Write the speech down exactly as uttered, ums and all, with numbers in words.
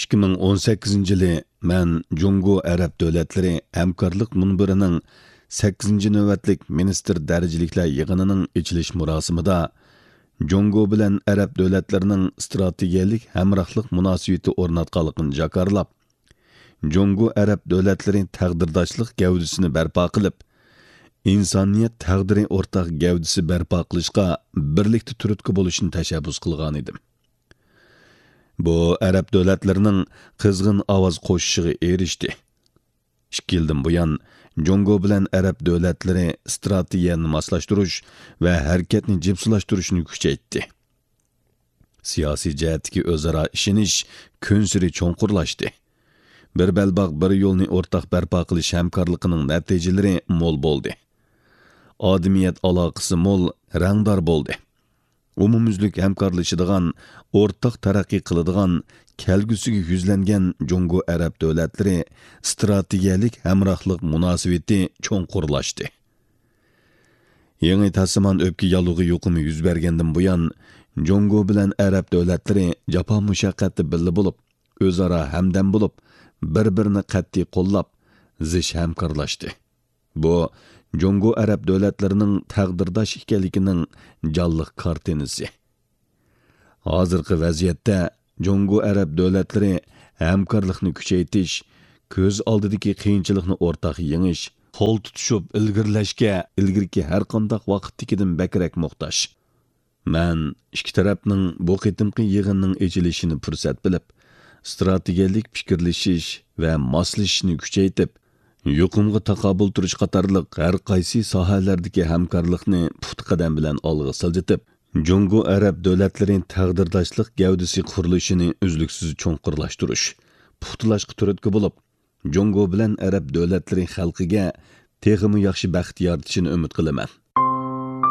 ئىككى مىڭ ئون سەككىزىنچى يىلى مەن جۇڭگو ئەرەب دۆلەتلىرى ھەمكارلىق مۇنبىرىنىڭ سەككىزىنچى نۆۋەتلىك مىنىستىر دەرىجىلىكلەر يىغىنىنىڭ ئېچىلىش مۇراسىمىدا جۇڭگو بىلەن ئەرەب دۆلەتلىرىنىڭ ئىستراتېگىيەلىك ھەمراھلىق مۇناسىۋىتى ئورناتقانلىقىنى جاكارلاپ، جۇڭگو ئەرەب دۆلەتلىرى تەقدىرداشلىق گەۋدىسىنى بەرپا قىلىپ، ئىنسانىيەت تەقدىرى ئورتاق گەۋدىسى بەرپا قىلىشقا بىرلىكتە تۈرتكە بولۇشنى تەشەببۇس قىلغانىدىم. بۇ ئەرەب دۆلەتلىرىنىڭ قىزغىن ئاۋاز قوشۇشىغا ئېرىشتى. ئىككى يىلدىن بۇيان، جۇڭگو بىلەن ئەرەب دۆلەتلىرى ئىستراتېگىيەنى ماسلاشتۇرۇش ۋە ھەرىكەتنى جىپسىلاشتۇرۇشنى كۈچەيتتى. سىياسىي جەھەتتىكى ئۆزئارا ئىشىنىش كۈنسېرى چوڭقۇرلاشتى. بىر بەلباغ، بىر يولنى ئورتاق بەرپا قىلىش ھەمكارلىقىنىڭ نەتىجىلىرى مول بولدى. ئادىمىيەت ئالاقىسى مول، رەڭدار بولدى. ئومۇميۈزلۈك ھەمكارلىشىدىغان، ئورتاق تەرەققىي قىلىدىغان، كەلگۈسىگە يۈزلەنگەن جۇڭگو ئەرەب دۆلەتلىرى ئىستراتېگىيەلىك ھەمراھلىق مۇناسىۋىتى چوڭقۇرلاشتى. يېڭى تاسىمان ئۆپكە ياللۇغى يۇقۇمى يۈز بەرگەندىن بۇيان، جۇڭگو بىلەن ئەرەب دۆلەتلىرى جاپا مۇشەققەتتە بىللە بولۇپ، ئۆزئارا ھەمدەم بولۇپ، بىر-بىرىنى قەتئىي قوللاپ، زىچ ھەمكارلاشتى. بۇ جۇڭگو ئەرەب دۆلەتلىرىنىڭ تەقدىرداش ئىكەنلىكىنىڭ جانلىق كارتىنىسى. ھازىرقى ۋەزىيەتتە جۇڭگو ئەرەب دۆلەتلىرى ھەمكارلىقنى كۈچەيتىش، كۆز ئالدىدىكى قىيىنچىلىقنى ئورتاق يېڭىش، قول تۇتۇشۇپ ئىلگىرىلەشكە ئىلگىرىكى ھەرقانداق ۋاقىتتىكىدىن بەكرەك موھتاج. مەن ئىككى تەرەپنىڭ بۇ قېتىمقى يىغىننىڭ ئېچىلىشىنى پۇرسەت بىلىپ، ئىستراتېگىيەلىك پىكىرلىشىش ۋە ماسلىشىشنى كۈچەيتىپ، يۇقۇمغا تاقابىل تۇرۇش قاتارلىق ھەر قايسى ساھەلەردىكى ھەمكارلىقنى پۇختا قەدەم بىلەن ئالغا سىلجىتىپ، جۇڭگو ئەرەب دۆلەتلىرى تەقدىرداشلىق گەۋدىسى قۇرۇلۇشىنى ئۈزلۈكسىز چوڭقۇرلاشتۇرۇش، پۇختىلاشقا تۈرتكە بولۇپ، جۇڭگو بىلەن ئەرەب دۆلەتلىرى خەلقىگە تېخىمۇ ياخشى بەخت يارىتىشىنى ئۈمىد قىلىمەن.